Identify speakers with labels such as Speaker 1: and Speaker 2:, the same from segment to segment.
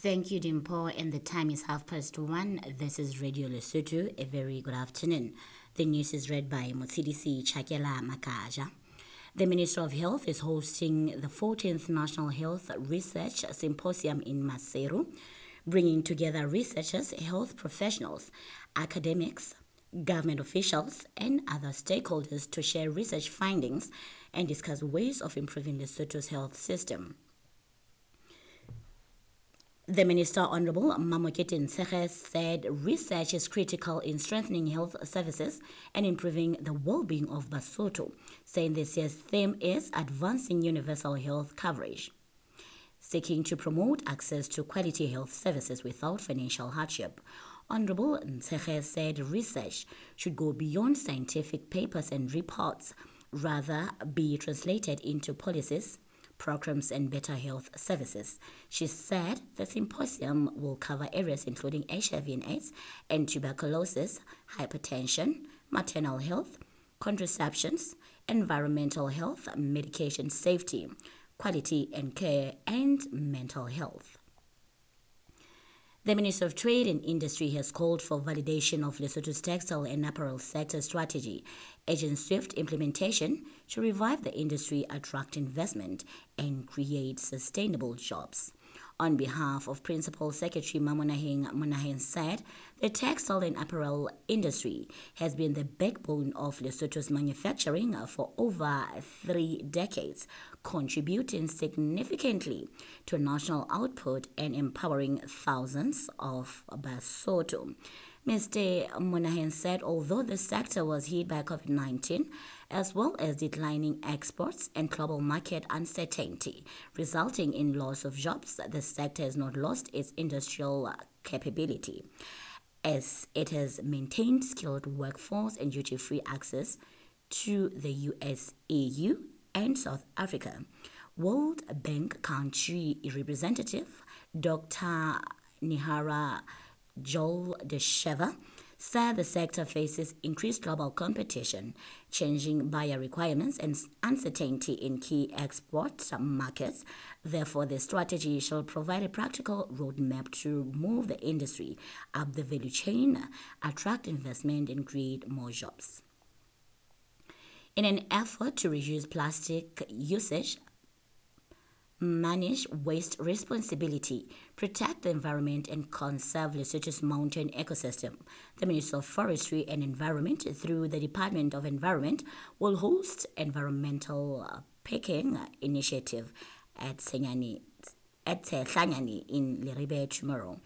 Speaker 1: Thank you, Dimpo. And the time is 1:30. This is Radio Lesotho. A very good afternoon. The news is read by Motshidisi Chakela Makaja. The Minister of Health is hosting the 14th National Health Research Symposium in Maseru, bringing together researchers, health professionals, academics, government officials, and other stakeholders to share research findings and discuss ways of improving Lesotho's health system. The Minister, Honorable Mamokete Ntshege, said research is critical in strengthening health services and improving the well-being of Basotho, saying this year's theme is advancing universal health coverage, seeking to promote access to quality health services without financial hardship. Honorable Ntshege said research should go beyond scientific papers and reports, rather be translated into policies, programs and better health services. She said the symposium will cover areas including HIV and AIDS and tuberculosis, hypertension, maternal health, contraceptions, environmental health, medication safety, quality and care, and mental health. The Minister of Trade and Industry has called for validation of Lesotho's textile and apparel sector strategy, urging swift implementation to revive the industry, attract investment, and create sustainable jobs. On behalf of Principal Secretary Mamonaheng Monaheng said, the textile and apparel industry has been the backbone of Lesotho's manufacturing for over 3 decades, contributing significantly to national output and empowering thousands of Basotho. Mr. Monaheng said although the sector was hit by COVID-19, as well as declining exports and global market uncertainty, resulting in loss of jobs, the sector has not lost its industrial capability, as it has maintained skilled workforce and duty-free access to the US, EU, and South Africa. World Bank Country Representative Dr. Nihara Joel Desheva said the sector faces increased global competition, changing buyer requirements and uncertainty in key export markets. Therefore, the strategy shall provide a practical roadmap to move the industry up the value chain, attract investment and create more jobs. In an effort to reduce plastic usage, manage waste responsibility, protect the environment and conserve Lesotho's mountain ecosystem, the Ministry of Forestry and Environment, through the Department of Environment, will host environmental picking initiative at Tsehlanyane in Leribe tomorrow.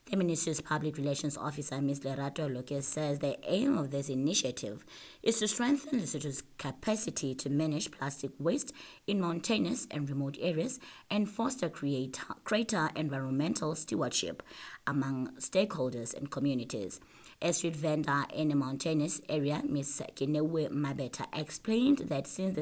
Speaker 1: The Ministry's Public Relations Officer, Ms. Lerato Loke, says the aim of this initiative is to strengthen Lesotho's capacity to manage plastic waste in mountainous and remote areas and foster greater environmental stewardship among stakeholders and communities. A street vendor in a mountainous area, Ms. Kinewe Mabeta, explained that since the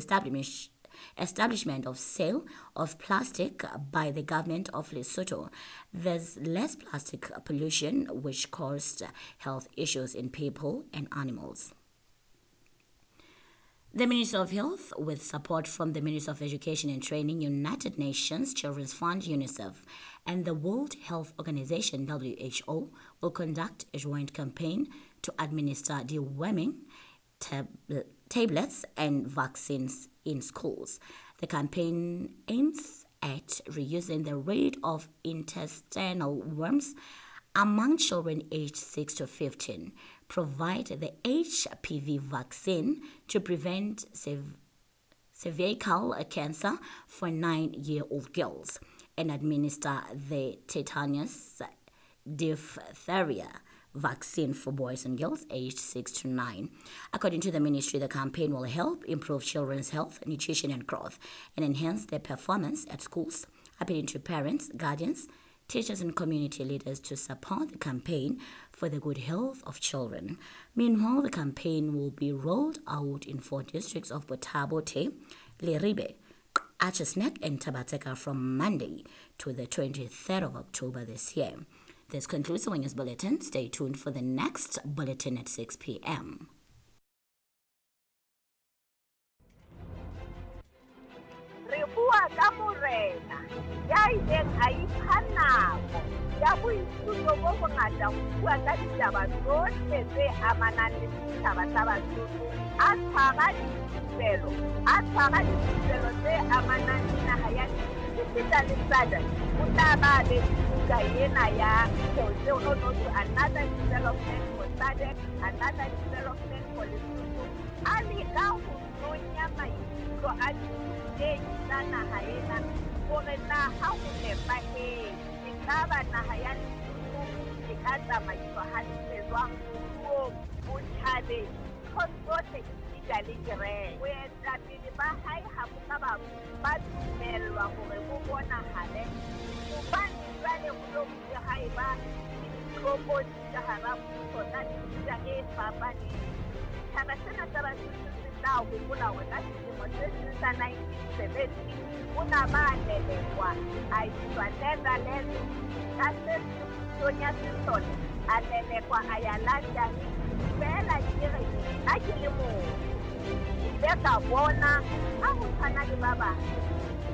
Speaker 1: establishment of sale of plastic by the government of Lesotho, there's less plastic pollution, which caused health issues in people and animals. The Ministry of Health, with support from the Ministry of Education and Training, United Nations Children's Fund, UNICEF, and the World Health Organization, WHO, will conduct a joint campaign to administer deworming tablets and vaccines in schools. The campaign aims at reducing the rate of intestinal worms among children aged 6 to 15, provide the HPV vaccine to prevent cervical cancer for 9-year-old girls, and administer the tetanus diphtheria vaccine for boys and girls aged 6 to 9. According to the ministry, the campaign will help improve children's health, nutrition and growth, and enhance their performance at schools, appealing to parents, guardians, teachers and community leaders to support the campaign for the good health of children. Meanwhile, the campaign will be rolled out in 4 districts of Botha-Bothe, Leribe, Archer's Nek and Tabatseka from Monday to the 23rd of October this year. This concludes the News Bulletin. Stay tuned for the next bulletin at 6 p.m.
Speaker 2: Re bua ka morena ya ileng a ipha nako ya boithuto bo bongata ho bua ka ditaba tsohle tse amanang le setjhaba sa Basotho. A tshwara dithupelo, a tshwara dithupelo tse amanang le naha ya esita le SADC. O tla ba be buka ena ya no no to another development for SADC, another development for Lesotho. A leka ho nonya maikutlo a dithutehi tsa naha ena hore na ha ho nepahetse ekaba naha ya Lesotho e ka tsamaiswa hantle jwang moruong, botjhabeng, ntho tsohle esita le kereke. Boetapele ba hae ha bo ka ba dumellwa hore bo bonahale hobane jwale ho lo bile ha eba le ditlokotsi ka hara mmuso tsa mefuta e fapaneng. Setjhaba sena sa Basotho se tla hopola hore ka selemo se seng sa 1970 o na ba lelekwa a iswa Netherlands ka se pusong ya sesole, a lelekwa a ya London. Feela ke re nna ke le motho ke ile ka bona ha ho tshwana le ba bang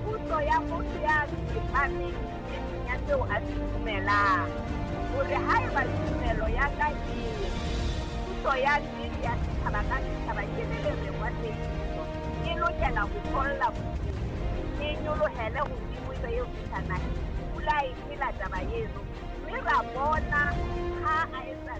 Speaker 2: puso ya motho ya tsepameng nneteng ya seo a se dumelang, hore haeba tumelo ya ka e puso ya nnete ya setjhaba ka setjhaba ke le lereng wa tsebiso e lokela ho tholla bodimo, e nyolohele hodimo ebe eo fihla naheng. Pula e phela taba eno, mme ra bona ha a etsa.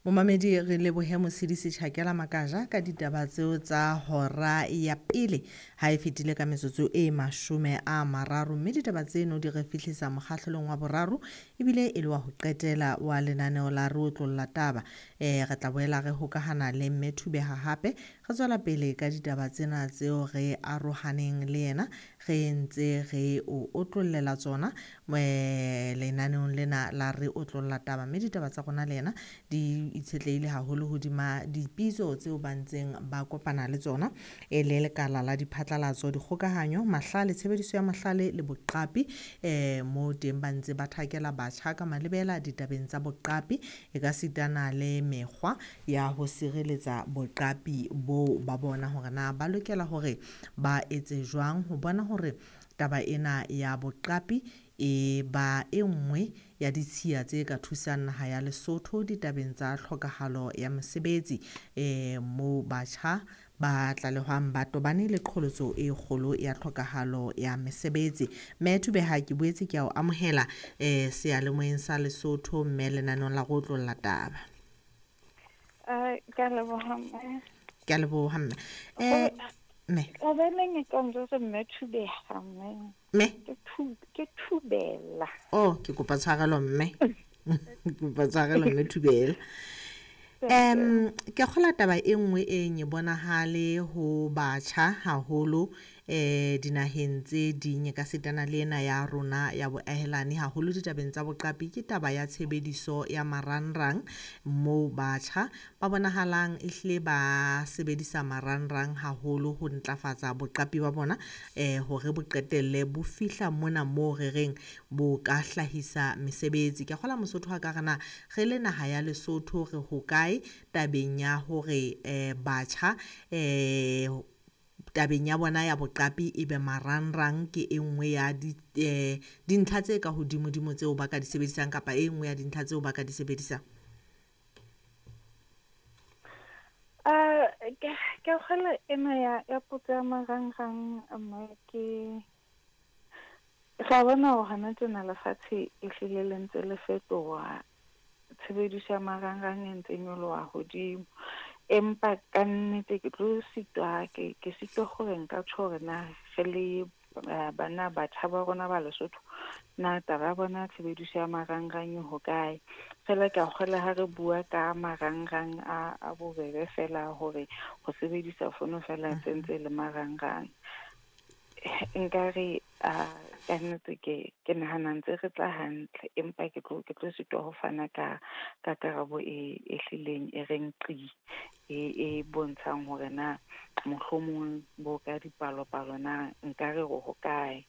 Speaker 3: Momamedi re lebohe Motshidisi Tjhakela Makaja ka ditaba tseo tsa hora ya pele ha e fetile ka metsotso e 30, mme ditaba tseno di re fihlisa mokgahlelong wa boraro ebile e le wa ho qetela wa lenaneo la Re Otlolla Taba. Re tla boela re hokahana le Mme Thubeha hape re tswela pele ka ditaba tsena tseo re arohaneng le yena re ntse re o otlollela tsona lenaneong lena la Re Otlolla Taba, mme ditaba tsa rona le yena di itshetlehile haholo hodima dipitso tseo ba ntseng ba kopana le tsona e le lekala la diphatlalatso, dikgokahanyo, mahlale, tshebediso ya mahlale le boqapi. Mo teng ba ntse ba thakela batjha ka malebela ditabeng tsa boqapi e ka sitana le mekgwa ya ho sireletsa boqapi bo ba bona hore na ba lokela hore ba etse jwang ho bona hore taba ena ya boqapi e ba e nngwe ya ditshiya tse ka thusang naha ya Lesotho ditabeng tsa tlhokahalo ya mosebetsi, moo batjha ba tlalehwang ba tobane le qholotso e kgolo ya tlhokahalo ya mesebetsi. Mme Thubeha, ke boetse ke a o amohela seyalemoyeng sa Lesotho mme lenaneong la Re Otlolla Taba.
Speaker 4: Ke a leboha mme.
Speaker 3: Ke a leboha mme. Mme.
Speaker 4: Hobaneng e ka njwetsa Mme Thubeha mme?
Speaker 3: Mme?
Speaker 4: Ke Thubela.
Speaker 3: Oh, ke kopa tshwarelo mme. Ke kopa tshwarelo mme Thubela. Ke kgola taba e nngwe e nye bonahale ho batjha haholo dinaheng tse ding ka setana le ena ya rona ya boahelani haholo ditabeng tsa boqapi ke taba ya tshebediso ya marangrang, moo batjha ba bonahalang ehlile ba sebedisa marangrang haholo ho ntlafatsa boqapi ba bona hore bo qetelle bo fihla mona moo re reng bo ka hlahisa mesebetsi. Ke kgola Mosotho ha ka re na re le naha ya Lesotho re hokae tabeng ya hore batjha tabeng ya bona ya boqapi ebe marangrang ke e nngwe ya dintlha tse ka hodimodimo tseo ba ka di sebedisang kapa e nngwe ya dintlha tseo ba ka di sebedisang?
Speaker 4: Ke kgola ena ya potso ya marangrang mme ke ra bona hore hona tjena lefatshe ehlile le ntse le fetoha, tshebediso ya marangrang e ntse nyoloha hodimo. Empa ka nnete ke tlo sitwa ke sitwa hore nka tjho hore na re le bana batjha ba rona ba Lesotho na taba ya bona tshebediso ya marangrang e hokae. Feela ke a kgola ha re bua ka marangrang a bobebe fela hore ho sebedisa fono fela tse ntse le marangrang. Nkare ka nnete ke nahana ntse re tla hantle, empa ke tlo sitwa ho fana ka karabo e hlileng e reng qi e bontshang hore na mohlomong bo ka dipalopalo na nkare re hokae.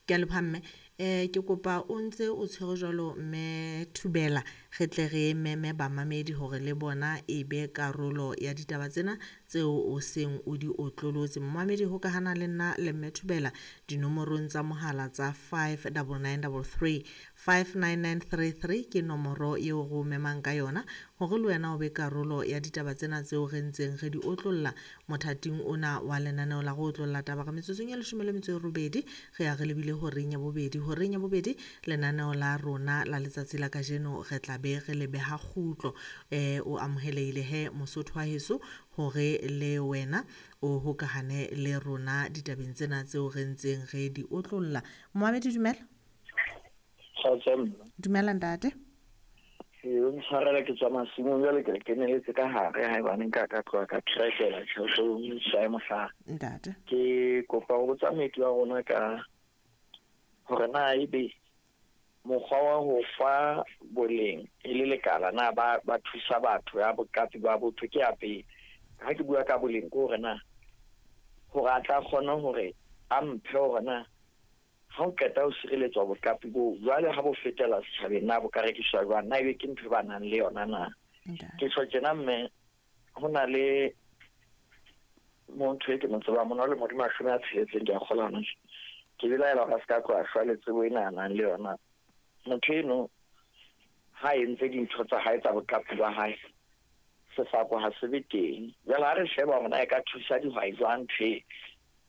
Speaker 3: Ke a leboha mme. Ke kopa o ntse o tshwere jwalo mme Thubela, re tle re meme bamamedi hore le bona e be karolo ya ditaba tsena tseo o seng o di otlolotse. Momamedi, hokahana le nna le Mme Thobela dinomorong tsa mohala tsa 59933. 59933 ke nomoro eo re o memang ka yona hore le wena o be karolo ya ditaba tsena tseo re ntseng re di otlolla mothating ona wa lenaneo la go otlolla taba. Re metsotsong ya 18 re ya re lebile horeng ya bobedi. Horeng ya bobedi lenaneo la rona la letsatsi la kajeno re tla be re le beha kgutlo. O amohelehile he Mosotho wa heso hore le wena o hokahane le rona ditabeng tsena tseo re ntseng re di otlolla. Momamedi, dumela. Dumela ntate.
Speaker 5: O ntshwarela, ke tswa masimong jwale, ke re keneletse ka hare haebane nka ka tloha ka trekela tjhelete sae mohlala.
Speaker 3: Ntate.
Speaker 5: Ke kopa ho botsa moeti wa rona ka hore na ebe mokgwa wa ho fa boleng e le lekala na ba thusa batho ya boqapi ba botho ke ya pele. Ha ke bua ka boleng ke hore na hore a tla kgona hore a mphe hore na ha o qeta ho sireletswa boqapi bo jwale ha bo fetela setjhabeng na bo ka rekiswa jwang, na ebe ke ntho e ba nang le yona na. Ke tjho tjena mme ho na le motho e ke mo tsebang mona le modi 60 ke a kgolwa hona tje. Ke belaela hore a se ka tloha shwa le tsebo ena a nang le yona. Motho eno ha entse dintho tsa hae tsa boqapi ba hae, sefako ha se be teng. Jwale ha re sheba hore na e ka thusa dihwai jwang ntho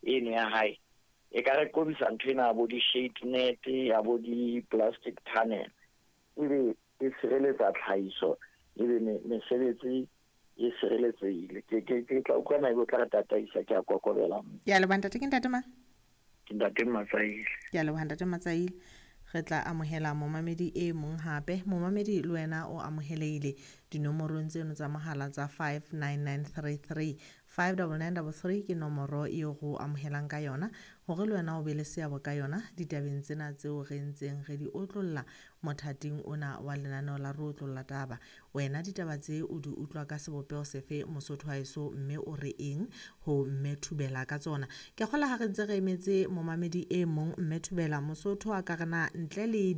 Speaker 5: eno ya hae, e ka re qobisa ntho ena ya bo di-shade net, ya bo di-plastic tunnel, ebe e sireletsa tlhahiso, ebe mesebetsi e sireletsehile. Ke tla utlwa na ebe o tla re tataisa, ke a kokobela.
Speaker 3: Ke a leboha ntate. Ke ntate mang?
Speaker 5: Ke ntate Matsaile.
Speaker 3: Ke a leboha ntate Matsaile. Re tla amohela momamedi e mong hape. Momamedi le wena o amohelehile dinomorong tseno tsa mohala tsa 59933. 59933 ke nomoro eo re o amohelang ka yona hore le wena o be le seabo ka yona ditabeng tsena tseo re ntseng re di otlolla mothating ona wa lenaneo la re otlolla taba. Wena ditaba tse o di utlwa ka sebopeho sefe Mosotho wa heso, mme o re eng ho Mme Thobela ka tsona? Ke kgola ha re ntse re emetse momamedi e mong, Mme Thobela, Mosotho a ka re na ntle le